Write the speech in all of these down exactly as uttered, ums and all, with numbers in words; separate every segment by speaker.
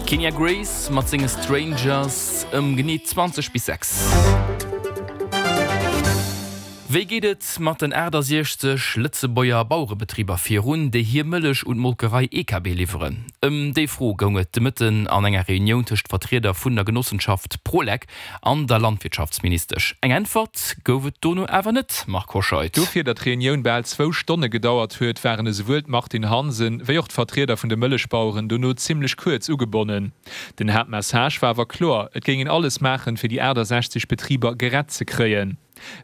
Speaker 1: Kenya Grace mat senge Strangers ëm genee zwanzeg bis sechs. Wéi geet et mat den aachtasechzeg Lëtzebuerger Bauerebetriber virun, déi hir Mëllech un d'Molkerei E K B liwweren? Ëm déi Fro goung et de Mëtten an enger Reunioun tëscht Vertrieder vun der Genossenschaft Prolec an der Landwirtschaftsministesch. Eng Äntwert gouf et dono awer net, Marc Hoscheid.
Speaker 2: Dofir, datt d'Reunioun bal zwou Stonne gedauert huet, waren esouwuel d'Martine Hansen wéi och d'Vertrieder vun de Mëllechbaueren dono zimmlech kuerz ugebonnen. Den Haaptmessage war awer kloer, Et géing een alles maachen, fir déi aachtasechzeg Betriber gerett ze kréien.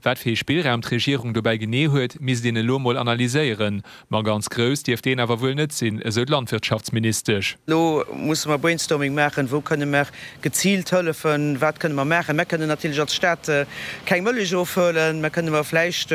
Speaker 2: Wat fir ee Spillraum d'Regierung dobäi genee huet, misst een elo mol analyséieren. Ma ganz grouss dierft deen awer wuel net sinn, esou d'Landwirtschaftsministesch.
Speaker 3: Elo musse mer Brainstorming maachen, wou kënne mer geziilt hëllefen, wat kënne mer maachen. Mer kënnen natierlech als Staat keng Mëllech ofhuelen, mer kënne mer vläicht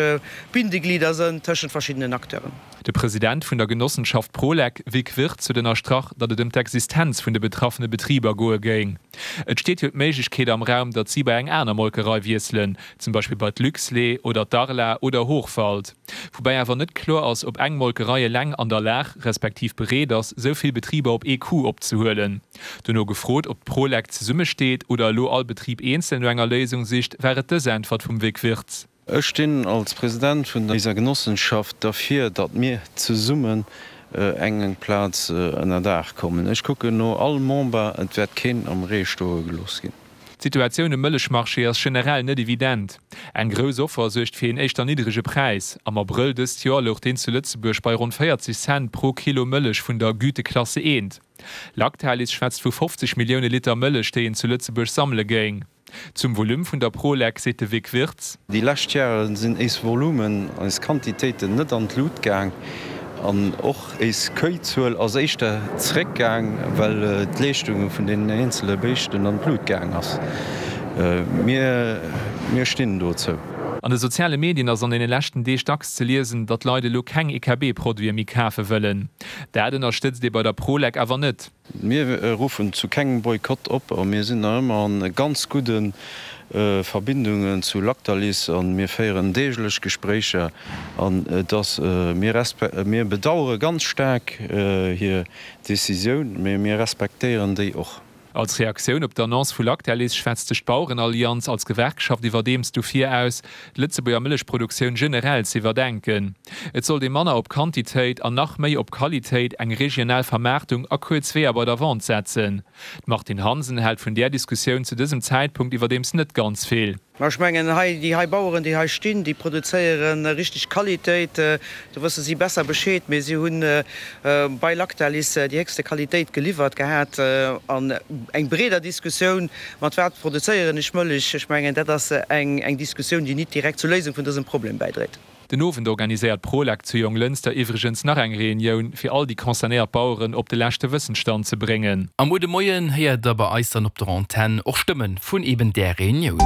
Speaker 3: Bindeglieder sënn tëschent verschiddenen Acteuren.
Speaker 2: De President vun der Genossenschaft Prolec, Vic Wirtz, huet ënnerstrach, datt et ëm d'Existenz vun de betraffene Betriber goe géing. Et steet jo d'Méiglechkeet am Raum, datt si bei eng aner Molkerei wiesselen, zum Beispill bei d'Luxlait oder d'Arla oder Hochwald. Woubäi awer net kloer ass, ob eng Molkerei eleng an der Lag, respektiv bereet ass, sou vill Betriber op ee Coup opzehuelen. Dono gefrot, ob d'Prolec zesummesteet oder elo all Betrib eenzel no enger Léisung sicht, war et dës Äntwert vum Vic Wirtz.
Speaker 4: Ech stinn als President vun eiser Genossenschaft derfir, datt mir zesummen eng Plaz ënner Daach kommen. Ech kucken no all Member, et wäert keen am Ree stoe gelooss ginn.
Speaker 2: D'Situatioun um Mëllechmarché ass generell net evident. Eng grouss Offer suergt fir een éischter niddrege Präis. Am Abrëll dëst Joer louch deen zu Lëtzebuerg bei ronn véierzeg Cent pro Kilo Mëllech vun der Güteklasse eent. Lactalis schwätzt vu fofzeg Millioune Liter Mëllech, déi een zu Lëtzebuerg sammele géing. Zum Volume vun der Prolec seet de Vic Wirtz.
Speaker 4: Déi lescht Jahre sinn éis Volumen, eis Quantitéiten net an d'Lut gaang an och éis Kéizuel ass éischter zréckgaang, well d'Leeschtung vun deenen eenzele Béischten an d'Lut gaang ass. Mir, mir stinn dozou.
Speaker 2: An de soziale Medien ass an deene leschten Deeg dacks ze liesen, datt Leit elo keng E K B-Produite méi kafe wëllen. Dat ënnerstëtzt ee bei der Prolec awer net.
Speaker 4: Mir ruffen zu kengem Boykott op a mir sinn nach ëmmer an ganz gudde Verbindungen zu Lactalis a mir féieren deeglech Gespréicher an et ass, mir mir bedauere ganz staark hir Decisioun, mee mir respektéieren déi och.
Speaker 2: Als Reaktioun op d'Annonce vu Lactalis schwätzt sech d'Bauerenallianz als Gewerkschaft iwwerdeems dofir aus, d'Lëtzebuerger Mëllechproduktioun generell z'iwwerdenken. Et sollt ee manner op Quantitéit an nach méi op Qualitéit, eng regional Vermaartung a kuerz Weeër bei der Vente setzen. D'Martine Hansen hält vun där Diskussioun zu dësem Zäitpunkt iwwerdeems net ganz vill.
Speaker 3: Ma ech mengen, hei, déi hei Baueren, déi hei stinn, déi produzéiere richteg Qualitéit. Do wësse si besser Bescheed. Mee si hu bei Lactalis déi héchste Qualitéit geliwwert gehat. An eng breeder Diskussioun, mat wat produzéieren ech Mëllech, ech mengen, dat ass eng Diskussioun, déi nit direkt zur Léisung vun dësem Problem bäidréit.
Speaker 2: Den Owend organiséiert d'Prolec zu Jonglënster iwwregens nach eng Reunioun, fir all déi concernéiert Baueren op de leschte Wëssensstand ze bréngen.
Speaker 1: A muer de Moien héiert der bei eis dann op der Antenn och Stëmme vun eben där Reunioun.